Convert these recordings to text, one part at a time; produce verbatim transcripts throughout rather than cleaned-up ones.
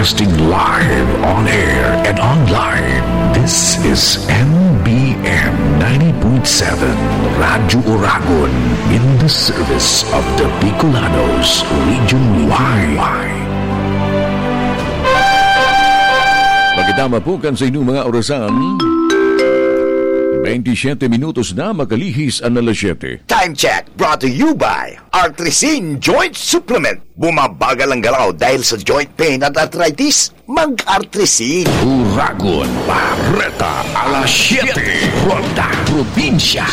Broadcasting live on air and online. This is M B M ninety point seven Radyo Oragon, in the service of the Bicolanos region wide. Magandang mapukan sa inyong mga orasan. Twenty-seven minutos na makalihis ang alas siyete. Time check brought to you by Artrisin Joint Supplement. Bumabagal ang galaw dahil sa joint pain at arthritis. Mag-Artrisin. Uragon, Bareta, alas siyete. Ronda, Probinsya.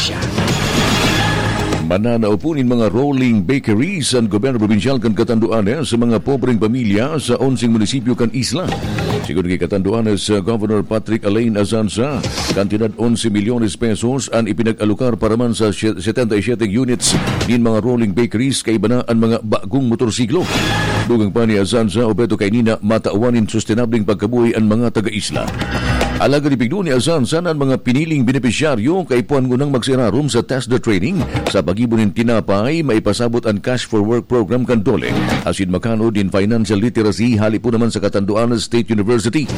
Mananao po nin mga rolling bakeries an gobyerno probinsyal kan Catanduanes sa mga pobreng pamilya sa onseng munisipyo kan isla. Sigon ki Catanduanes, uh, Governor Patrick Alain Azanza, kantidad onse milyones pesos an ipinag-alokar para man sa sie-, setenta y siete units nin mga rolling bakeries, kaiba na an mga bagong motorsiklo. Dugang pa ni Azanza, objeto kaini na matawan nin sustenableng pagkabuhay an mga taga-isla. Alagad ipigdo ni Azanza na an mga piniling benepisyaryo kaipuhan ngunang magsairarom sa TESDA training sa paggibo nin tinapay, maipasabot an Cash for Work program kan DOLE, asin makanod nin financial literacy hali po naman sa Catanduanes State University.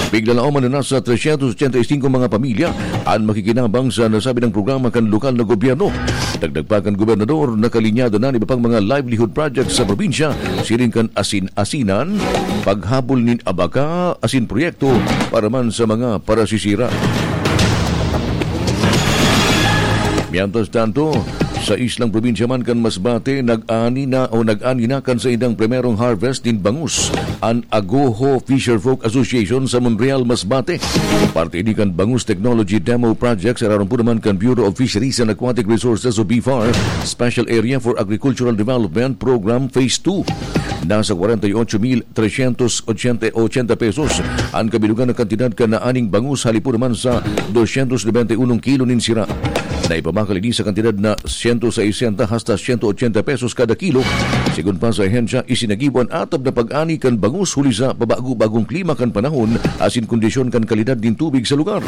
Piglalaoman na nasa trescientos ochenta y cinco mga pamilya an makikinabang sa nasabing programa kan lokal na gobyerno. Dagdag pa kan gobernador, nakalinyado na an iba pang mga livelihood projects sa probinsya, siring kan asin-asinan, paghabol nin abaka, asin proyekto para man sa mga parasisira. Mientras tanto, sa islang probinsya man kan Masbate, nag-ani na o nag-ani na kan saindang primerong harvest nin bangus an Agoho Fisherfolk Association sa Monreal, Masbate. Parte ini kan Bangus Technology Demo Project sa raron po naman kan Bureau of Fisheries and Aquatic Resources o BFAR Special Area for Agricultural Development Program Phase two. Nasa kwarenta y ocho mil trescientos ochenta pesos an kabilugan na kantidad kan naaning bangus hali po naman sa doscientos noventa y uno kilo nin sira. Naipabakal ini sa kantidad na siyento sesenta hasta siyento ochenta pesos kada kilo. Sigon pa sa ahensya, isinagibo an atab na pag-ani kan bangus huli sa pabago-bagong klima kan panahon asin kondisyon kan kalidad nin tubig sa lugar.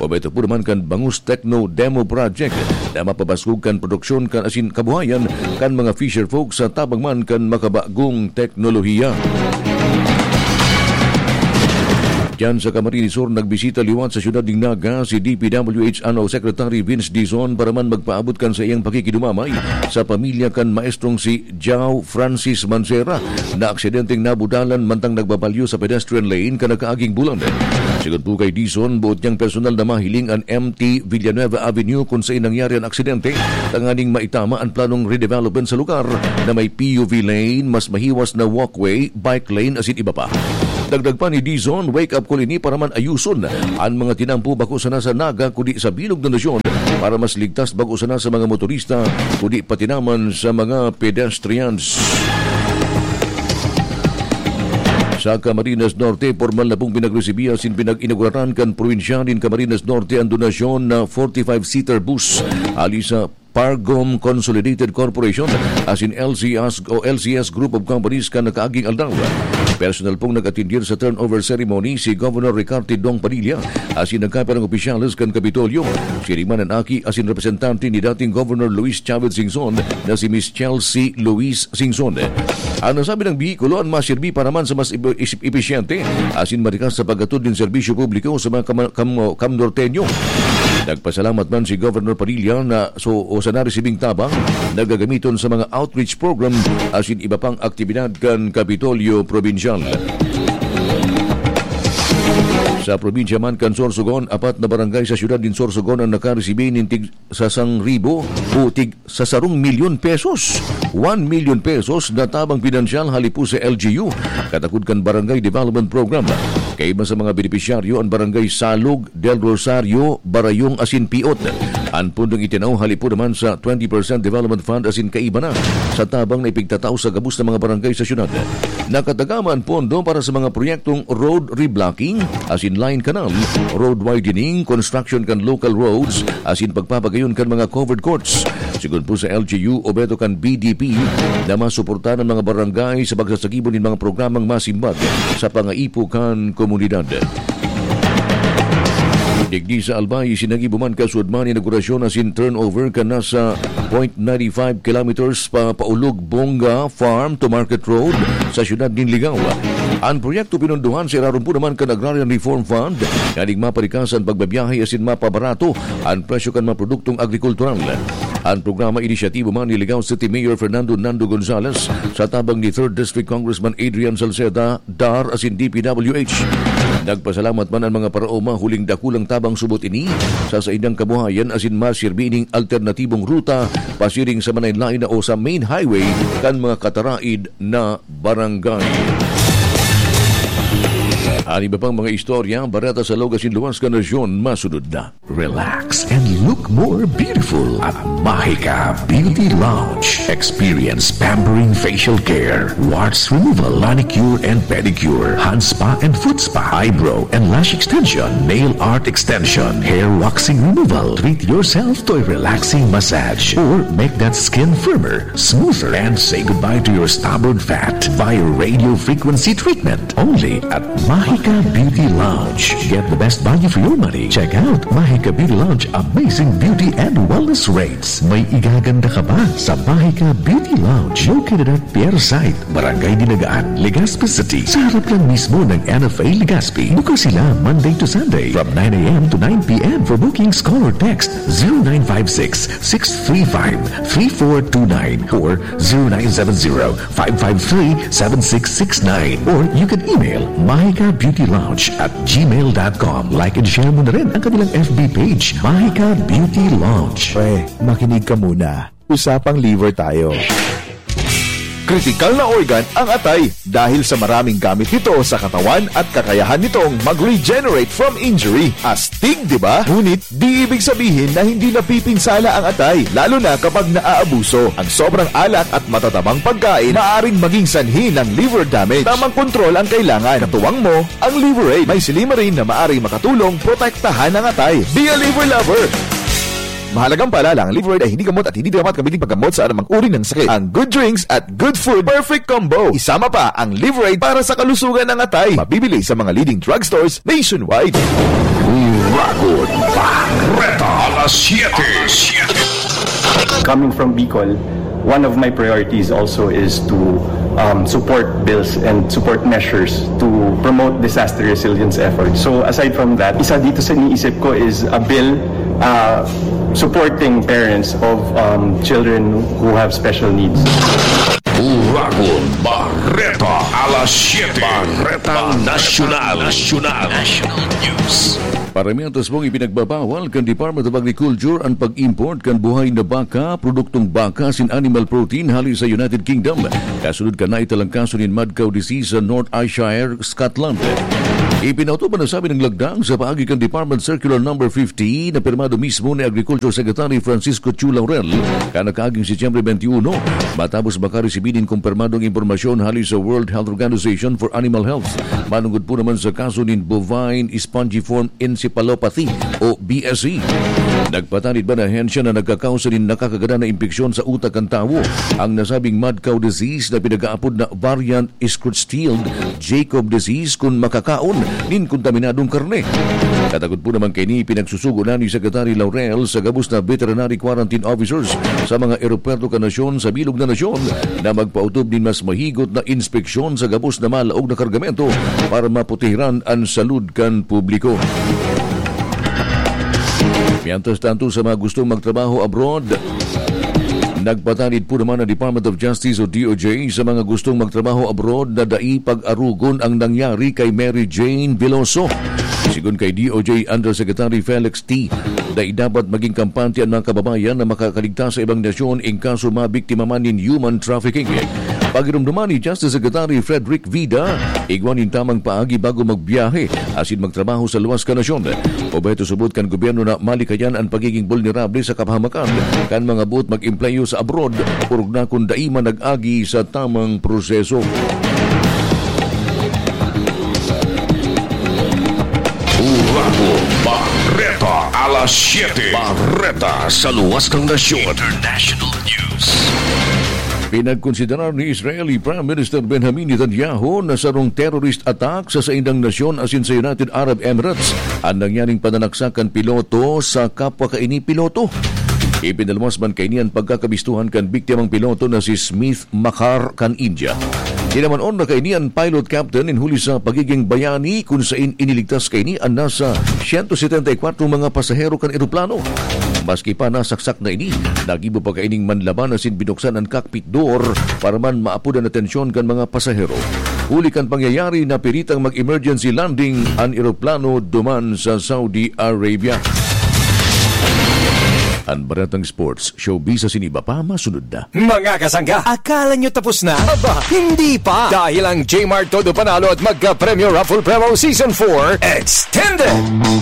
Objeto po naman kan Bangus Techno Demo Project na mapabaskog kan produksyon kan asin kabuhayan kan mga fisher folk sa tabang man kan makabagong teknolohiya. Diyan sa Camarines Sur, nagbisita liwat sa siyudad nin Naga si D P W H Ano Secretary Vince Dizon para man magpaabot kan saiyang pakikidumamay sa pamilya kan maestrong si Jao Francis Mancera na aksidenteng nabudalan mantang nagbabalyo sa pedestrian lane kan nakaaging bulan. Sigon po kay Dizon, boot niyang personal na mahiling an M T Villanueva Avenue kung saan nangyari an aksidente, tanganing maitama an planong redevelopment sa lugar na may P U V lane, mas mahiwas na walkway, bike lane asin iba pa. Dagdag pa ni Dizon, wake-up call ini para man ayuson an mga tinampo bako sana sa Naga kundi sa bilog na nasyon para mas ligtas bako sana sa mga motorista kundi pati naman sa mga pedestrians. Sa Camarines Norte, pormal na pong pinagresibihan asin pinag-inauguraran kan probinsyal nin Camarines Norte an donasyon na forty-five seater bus hali sa Pargom Consolidated Corporation asin L C S o L C S Group of Companies kan nakaaging aldaw. Personal pong nag-atindir sa turnover ceremony si Governor Ricarte Dong Padilla asin nagkapirang opisyales kan Kapitolyo. Siring man an aki asin representante ni dating Governor Luis Chavez Singson na si Miss Chelsea Luis Singson. An nasabing behikulo an masirbi para man sa mas ib-, is-, episyente asin marikas sa paghatod nin serbisyo publiko sa mga kama-, kam-, kamnorteño. Nagpasalamat man si Governor Padilla na so, o sa naresibing tabang na gagamiton sa mga outreach program asin iba pang aktibidad kan Kapitolyo Probinsyal. Sa probinsya man kan Sorsogon, apat na barangay sa siyudad nin Sorsogon ang nakaresibi nin tig sa sarong ribo o tig sa sarong milyon pesos, one million pesos na tabang pinansyal hali po sa L G U, katakod kan Barangay Development Program. Kaiba sa mga benepisyaryo an Barangay Salog, Del Rosario, Barayong asin Piot. An pondong itinaw hali po naman sa twenty percent Development Fund asin kaiba na sa tabang na ipigtatao sa gabos na mga barangay sa syudad. Nakatagama an pondo para sa mga proyektong road reblocking, asin line canal, road widening, construction kan local roads, asin pagpapagayon kan mga covered courts. Sigon po sa L G U, objeto kan B D P na masuportahan an mga barangay sa pagsasagibo nin mga programang masimbag sa pangaipo kan komunidad. Digdi sa Albay, sinagibo man kasuodman inaugurasyon asin turnover kan nasa point nine five kilometers pa paulog Bonga Farm to Market Road sa siyudad nin Ligao. An proyekto pinondohan sa irarom po naman kan Agrarian Reform Fund, nganing maparikas an pagbabiyahe asin mapabarato an presyo kan mga produktong agrikultural. An programa inisyatibo man ni Ligao City Mayor Fernando Nando Gonzales sa tabang ni Third District Congressman Adrian Salceda, dar asin D P W H. Nagpasalamat man an mga paraoma huling dakulang tabang subot ini sa saindang kabuhayan asin masirbi ining alternatibong ruta pasiring sa manlaen-laen na o sa main highway kan mga kataraid na barangay. An iba pang mga istorya, bareta sa Logas in Luwas kan Nasyon, masunod na. Relax and look more beautiful at Mahika Beauty Lounge. Experience pampering facial care, warts removal, manicure and pedicure, hand spa and foot spa, eyebrow and lash extension, nail art extension, hair waxing removal. Treat yourself to a relaxing massage or make that skin firmer, smoother, and say goodbye to your stubborn fat via radio frequency treatment. Only at Mahika Beauty Lounge. Get the best value for your money. Check out Mahika Beauty Lounge amazing beauty and wellness rates. May igaganda ka ba sa Mahika Beauty Lounge? Located at Pier Site, Barangay Dinagaan, Legazpi City. Sa harap lang mismo ng N F A Legazpi. Bukas sila Monday to Sunday from nine a m to nine p m. For bookings, call or text zero nine five six, six three five, three four two nine or zero nine seven zero, five five three, seven six six nine, or you can email mahika beauty lounge at gmail dot com. Like and share mo na rin ang kanilang F B page, Mahika Beauty Lounge. Pre, makinig ka muna. Usapang liver tayo. Kritikal na organ ang atay dahil sa maraming gamit nito sa katawan at kakayahan nitong mag-regenerate from injury. Astig, di ba? Ngunit di ibig sabihin na hindi napipinsala ang atay, lalo na kapag naaabuso. Ang sobrang alat at matatabang pagkain maaring maging sanhi ng liver damage. Tamang kontrol ang kailangan. Katuwang mo ang Liver Aid. May silymarin na maaring makatulong protektahan ang atay. Be a liver lover! Mahalagang paalala, ang Liver Aid ay hindi gamot at hindi dapat gamitin paggamot sa anumang uri ng sakit. Ang good drinks at good food, perfect combo. Isama pa ang Liver Aid para sa kalusugan ng atay. Mabibili sa mga leading drugstores nationwide. Uragon Barreta, alas siyete. Coming from Bicol, one of my priorities also is to um, support bills and support measures to promote disaster resilience efforts. So aside from that, isa dito sa iniisip ko is a bill uh, supporting parents of um, children who have special needs. Uragon Barreta, alas siyete. Barretang Nasyonal. Nasyonal. National News. Paramihan tasbong ipinagbabawal kan Department of Agriculture an pag-import kan buhay na baka, produktong baka asin animal protein hali sa United Kingdom, kasunod kan naitalang kaso nin mad cow disease sa North Ayrshire, Scotland. Ipinautubod na sabi ng lagdang sa paagi kan Department Circular Number fifty na pirmado mismo ni Agriculture Secretary Francisco Chu Laurel kan nakaaging Setyembre twenty-one, matapos makaresibi nin kumpirmadong impormasyon hali sa World Health Organization for Animal Health manungod po naman sa kaso nin bovine spongiform encephalopathy o B S E. Nagpatanid man an ahensya na nagkakausa nin nakakagadan na impeksyon sa utak kan tawo ang nasabing mad cow disease na pinag-aapod na variant Creutzfeldt Jakob disease kun makakaon nin kontaminadong karne. Katakod po naman kaini, pinagsusugo na ni Secretary Laurel sa gabos na veterinary quarantine officers sa mga eropuwerto kan nasyon sa bilog na nasyon na magpaotob nin mas mahigot na inspeksyon sa gabos na malaog na kargamento para maprotehiran an salud kan publiko. Mientras tanto, sa mga gustong magtrabaho abroad, nagpatanid po naman ang Department of Justice o D O J sa mga gustong magtrabaho abroad na dai pag-arugon ang nangyari kay Mary Jane Veloso. Sigon kay D O J Undersecretary Felix T, dai dapat maging kampante an mga kababayan na makakaligtas sa ibang nasyon in kaso mabiktima man nin human trafficking. Pagiromdoman ni Justice Secretary Frederick Vida, igwa nin tamang paagi bago magbiyahe asin magtrabaho sa luwas kan nasyon. Obheto subot kan gobyerno na malikayan an pagiging bulnerable sa kapahamakan kan mga boot mag-empleyo sa abroad, orog na kun dai man nag-agi sa tamang proseso. Uragon Barreta, alas siyete. Barreta sa luwas kan nasyon. International News. Pinagkonsiderar ni Israeli Prime Minister Benjamin Netanyahu na sarong terrorist attack sa saindang nasyon asin sa United Arab Emirates an nangyaring pananaksak kan piloto sa kapwa kaini piloto. Ipinaluwas man kaini an pagkakabistuhan kan biktimang piloto na si Smith Makhar kan India. Sinaman-on na kaini an pilot captain nin huli sa pagiging bayani kun sain iniligtas kaini an nasa siyento setenta y kwatro mga pasahero kan eroplano. Maski pa nasaksak na ini, nagibo pa kaining manlaban asin binuksan an cockpit door para man maapod an atensyon kan mga pasahero. Huli kan pangyayari, napiritang mag-emergency landing an eroplano duman sa Saudi Arabia. An Baretang Sports, showbiz asin iba pa, masunod na. Mga kasangga, akala nyo tapos na? Aba, hindi pa! Dahil ang J-Mart Todo Panalo at Magka-Premyo Raffle Promo Season four Extended!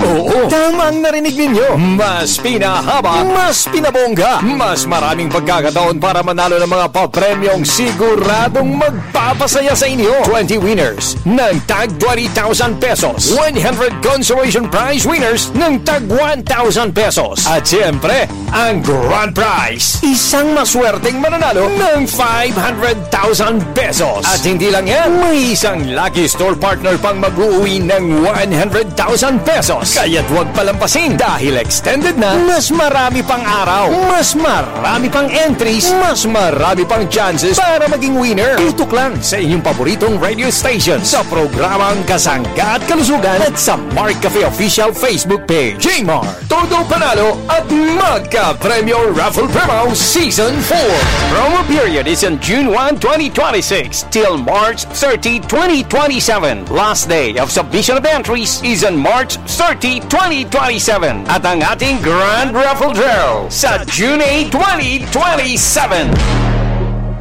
Oo, tama ang narinig ninyo. Mas pinahaba, mas pinabongga, mas maraming pagkakataon para manalo ng mga papremyong siguradong magpapasaya sa inyo. Twenty winners ng tag twenty thousand pesos, one hundred consolation prize winners ng tag one thousand pesos. At siyempre, ang grand prize, isang maswerteng mananalo ng five hundred thousand pesos. At hindi lang yan, may isang lucky store partner pang mag-uuwi ng one hundred thousand pesos. Kaya't huwag palampasin dahil extended na, mas marami pang araw, mas marami pang entries, mas marami pang chances para maging winner. Tutok lang sa inyong paboritong radio station sa programang Kasangga at Kalusugan at sa Mark Cafe Official Facebook Page. J-Mart, Todo Panalo at Magka-Premyo Raffle Promo Season four. Promo period is on June one, twenty twenty-six till March thirty, twenty twenty-seven. Last day of submission of entries is on March thirty, twenty twenty-seven. At ang ating Grand Raffle Draw sa June eight, twenty twenty-seven.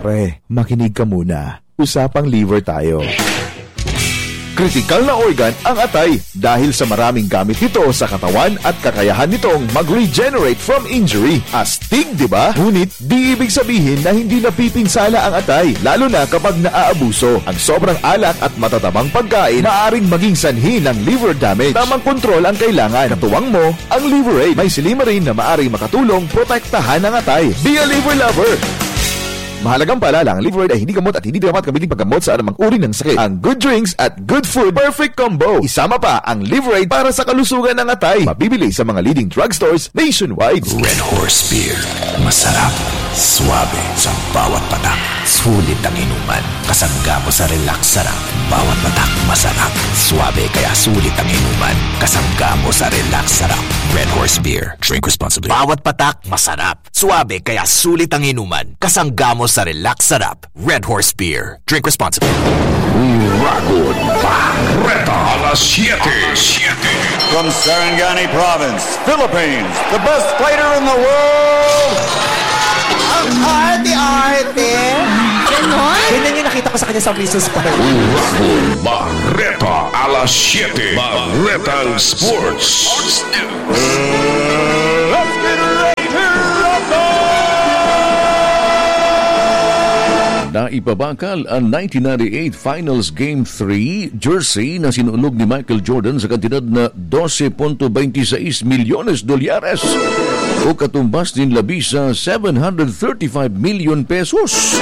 Pre, makinig ka muna. Usapang liver tayo. Kritikal na organ ang atay dahil sa maraming gamit nito sa katawan at kakayahan nitong mag-regenerate from injury. Astig, di ba? Ngunit di ibig sabihin na hindi napipinsala ang atay, lalo na kapag naaabuso. Ang sobrang alak at matatabang pagkain maaring maging sanhi ng liver damage. Tamang kontrol ang kailangan. Katuwang mo ang Liver Aid. May silymarin na maaring makatulong protektahan ang atay. Be a liver lover! Mahalagang paalala, ang Liver Aid ay hindi gamot at hindi dapat gamitin paggamot sa anumang uri ng sakit. Ang good drinks at good food, perfect combo. Isama pa ang Liver Aid para sa kalusugan ng atay. Mabibili sa mga leading drugstores nationwide. Red Horse Beer. Masarap, suabe, sa bawat patak. Sulit ang inuman. Kasangga mo sa relax sarap. Bawat patak, masarap. Suabe, kaya sulit ang inuman. Kasangga mo sa relax sarap. Red Horse Beer. Drink responsibly. Bawat patak, masarap. Suabe, kaya sulit ang inuman. Kasangga mo sa relax sarap. Red Horse Beer. Drink responsibly. Uragon Bareta, alas siyete. From Sarangani Province, Philippines, the best fighter in the world. Ang arte-arte. Ganon? Ganyan yung nakita ko sa kanya sa Missus Park. Uragon Bareta, alas siyete. Baretang Sports. Let's get ready to rumble! Naipabakal ang nineteen ninety-eight Finals Game three jersey na sinunog ni Michael Jordan sa kantidad na dose punto baynte sais milyones dolyares o katumbas nin labi sa seven hundred thirty-five million pesos.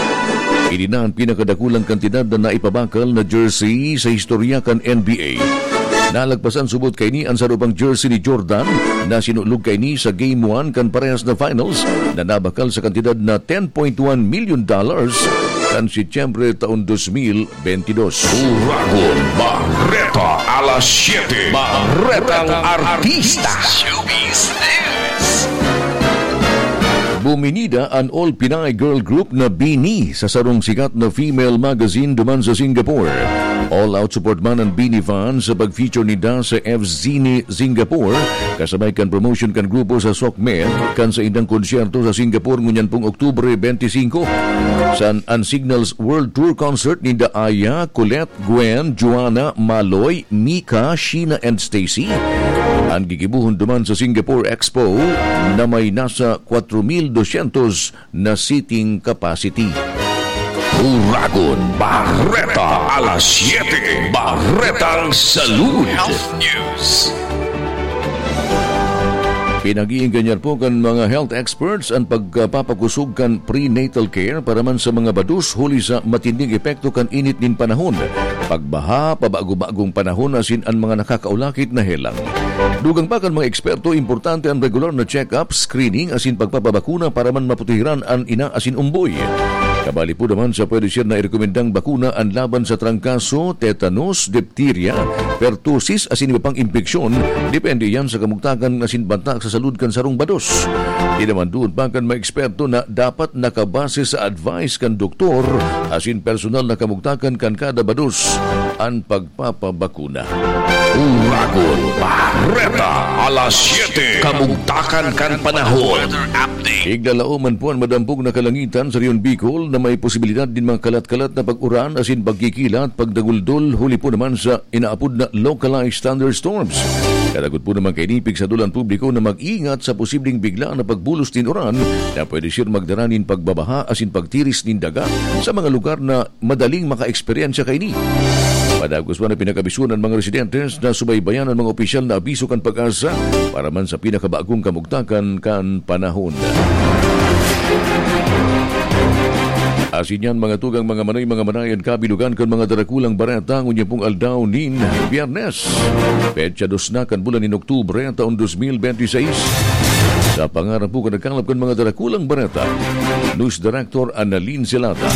Ini na ang pinakadakulang kantidad na naipabakal na jersey sa istorya kan N B A. Nalagpasan subot kaini an saro pang jersey ni Jordan na sinunog kaini sa Game one kan parehas na finals na nabakal sa kantidad na ten point one million dollars kan Setyembre taon dos mil bentidos. Uragon Bareta, alas siyete. Baretang Artista. Showbiz News. Buminida an all-Pinay girl group na BINI sa sarong sikat na female magazine duman sa Singapore. All out support man an BINI fans sa pag-feature ninda sa F Zine Singapore, kasabay kan promotion kan grupo sa Sok Med, kan saindang konsyerto sa Singapore ngunyan pong Oktubre bente singko. San an Signals World Tour Concert ninda Aya, Colette, Gwen, Joanna, Maloy, Mika, Sheena and Stacy. An gigibohon duman sa Singapore Expo na may nasa kwatro mil dosyentos na seating capacity. Uragon Bareta, alas siyete, Baretang Salud. Health News. Pinag-iingganyan po kan mga health experts an pagpapakusog kan prenatal care para man sa mga bados huli sa matinding epekto kan init nin panahon, pagbaha, pabago-bagong panahon asin an mga nakakaulakit na helang. Dugang pa kan mga eksperto, importante an regular na check-up, screening asin pagpapabakuna para man maputihiran an ina asin umboy. Kabali po naman sa pwede siya na irekomendang bakuna an laban sa trangkaso, tetanus, dipterya, pertussis asin iba pang impeksyon, depende yan sa kamugtakan asin banta sa salud kan sarong bados. Di naman duon pa kan mga eksperto na dapat nakabase sa advice kan doktor asin personal na kamugtakan kan kada bados an pagpapabakuna. Uragon, Bareta, alas siyete. Kamugtakan kan panahon. Iglalao man po an madampog na kalangitan sa Rehiyon Bicol na may posibilidad din mga kalat-kalat na pag-uran asin pagkikilat, pagdaguldol, huli po naman sa inaapod na localized thunderstorms. Kadagot po naman kaini, pigsadol an publiko na mag-ingat sa posibleng bigla na pagbulos nin uran na pwede siya magdara nin pagbabaha asin pagtiris nin daga sa mga lugar na madaling maka-eksperyensya kaini. Padagos man na pinakabisuan ang mga residentes na subaybayan ang mga opisyal na abiso kan PAGASA para man sa pinakabagong kamugtakan kan panahon. Asin yan, mga tugang, mga manoy, mga manayan, kabilugan kan mga darakulang bareta, ngunyan pong aldaw nin Biyernes, petsa dos na kan bulan nin Oktubre, taon dos mil bente seis. Sa pangaran po kan nagkalap kan mga darakulang bareta, News Director Annalyn Celata.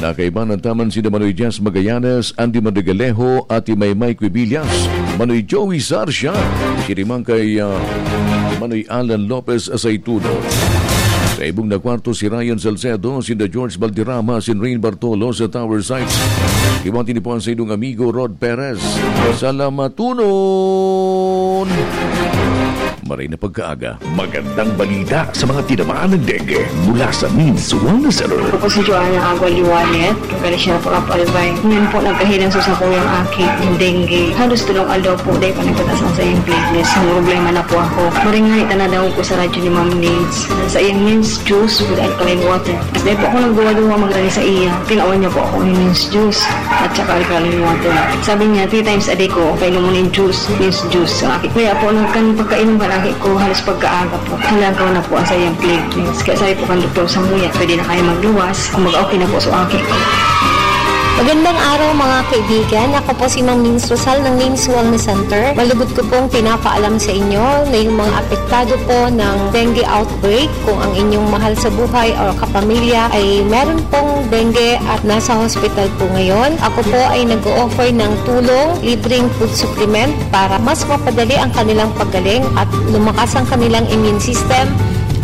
Nakaibanan taman si Manoy Jazz Magallanes, Andy Madrigalejo, Ate Maymay Quibillas, Manoy Joey Sarcia, si Rimang kay, ah, Manoy Alan Lopez Aceituno. Sa ibong na kwarto, si Ryan Salcedo, si George Valderrama, si Rain Bartolo sa Tower Sites. Iwan tinipuan sa idong amigo Rod Perez. Salamatunon! Maray na pagkaaga. Magandang balita sa mga tinamaan ng dengue mula sa Means Wellness Center. Ako po si Joanna Agua Liwanet, Galicia po, Apalbay. Ngayon po, nagkahilang sa sakuyang aki, yung dengue. Halos tulong aldaw po, dahil pa nagpataas ang sa iyong platelets. Ang problema na po ako. Maringay, tanadaw ko sa radyo ni Ma'am Nins. Sa iyang Nins juice with alkaline water. Dahil po ako nagduwa-duwa magrani sa iya. Tinawan niya po ako ng Nins juice at saka alkaline water. Sabi niya, three times a day ko, kainom mo ng juice, Nins juice. Sa aki. Kaya po, nagkan pagkainom palagi ko, halos pagkaaga po. Halangkaw na po ang sa iyang platelets. Kaya sabi po kan doktor, sa muya, pwede na kayo magluwas. Kumbaga, okay na po sa aki ko. Magandang araw, mga kaibigan. Ako po si Ma'am Nins Rosal ng Nins Wellness Center. Malugod ko pong pinapaalam sa inyo na yung mga apektado po ng dengue outbreak, kung ang inyong mahal sa buhay o kapamilya ay meron pong dengue at nasa hospital po ngayon, ako po ay nag-o-offer ng tulong, libreng food supplement para mas mapadali ang kanilang paggaling at lumakas ang kanilang immune system.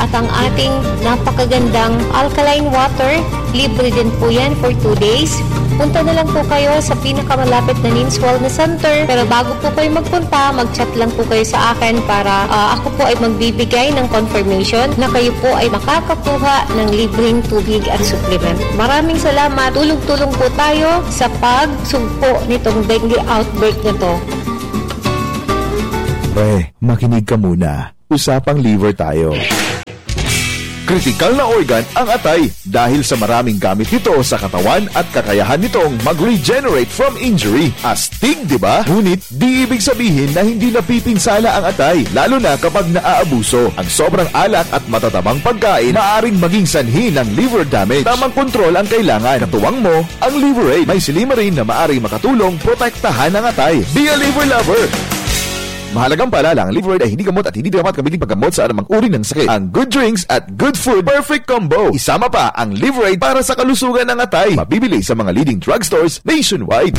At ang ating napakagandang alkaline water, libre din po yan for two days. Punta na lang po kayo sa pinakamalapit na Nins Wellness Center. Pero bago po kayo magpunta, mag-chat lang po kayo sa akin para, ah, ako po ay magbibigay ng confirmation na kayo po ay makakakuha ng libreng tubig at supplement. Maraming salamat. Tulong-tulong po tayo sa pagsugpo nitong dengue outbreak na to. Pre, makinig ka muna. Usapang liver tayo. Kritikal na organ ang atay dahil sa maraming gamit nito sa katawan at kakayahan nitong mag-regenerate from injury. Astig, di ba? Ngunit di ibig sabihin na hindi napipinsala ang atay, lalo na kapag naaabuso. Ang sobrang alak at matatabang pagkain maaring maging sanhi ng liver damage. Tamang kontrol ang kailangan. Katuwang mo ang Liver Aid. May silymarin na maaring makatulong protektahan ang atay. Be a liver lover! Mahalagang paalala, ang Liver Aid ay hindi gamot at hindi dapat gamitin paggamot sa anumang uri ng sakit. Ang good drinks at good food, perfect combo. Isama pa ang Liver Aid para sa kalusugan ng atay. Mabibili sa mga leading drugstores nationwide.